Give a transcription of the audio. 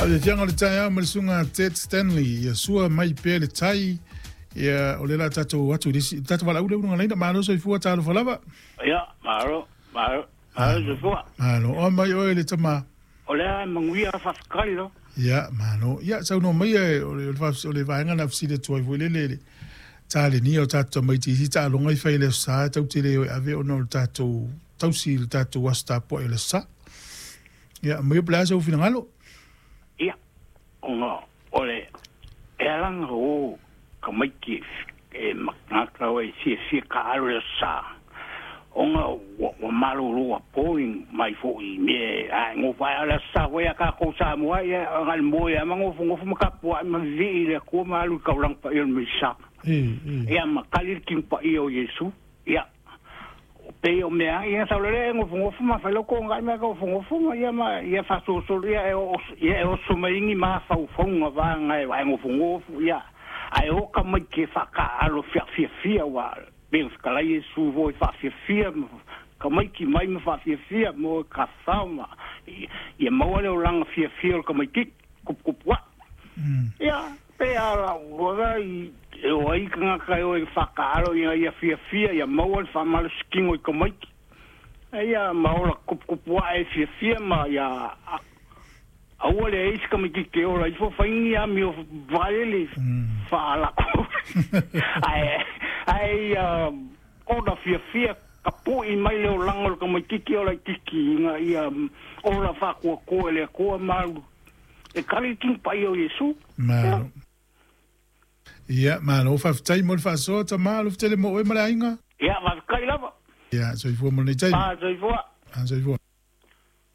Faafiafiaga o le taeao ma le susuga a Ted Stanley, ia sua mai pea le tai, ia o lea o le a tatou o atu i le isi, tatou valaau lea uluga laina, malo soifua, talofa lava. Ia, malo, malo, malo soifua. Malo, oo mai oe le tama. O lea e manuia faafetai lo. Ia, malo. Ia, saunoa mai o le, o le vaega na fesili atu ai foi lele i le talenia o tatou tamaiti i isi taaloga e fai i le Aso Sa, tatou te le o e ave ona o le tatou tausi i le tatou aso tapuai o le Aso Sa. Ia, maia po o le a sou finagalo? Ia, ona o le e alaga o tamaiti e matagata o e fiafia taalo i le Aso Sa, ona ua malolo apo mai foi i mea ae nofo ae o le Aso Sa foi a tatou Samoa, ia na o le moe lava ma nofonofo ma tapuai ma vivii i le Atua ma alu i le taulaga paia o le Mesia. Ia ma tali le tino paia o Iesu. Ia, pei o mea ia sau lele e nofonofo ma fai lau togai ma nofonofo ma ia ma ia faasolosolo ia e ia e oso mai ni mafaufauga vaga e vae nofonofo ia ae o tamaiti e faataaalo fiafiafia ua pei ona fetalai Iesu foi faafiafia ma tamaiti mai ma faafiafia mo tafafao ma ia maua le olaga fiafia o le tamaititi tuputupu ae. Ia, pe a lau loa i e o ai tagata e o e faataalo ina ia fiafia ia maua le faamalositino i tamaiti. Ia ma ola tuputupu ae fiafia ma ia aua le ai se tamaititi e ola ifo fai ni amio valele faalako. Ae ae ia ona fiafia tapui mai le olaga o le tamaititi o laititi ina ia ola faakuakua e le Atua ma alu e tali le tino paia o Iesu. Malo. Ia, malo faafetai mo le faasoa tama, alofa tele mo oe ma le aiga. Ia, faafetai lava. Ia, soifua mo lenei taimi. Soifua. Soifua.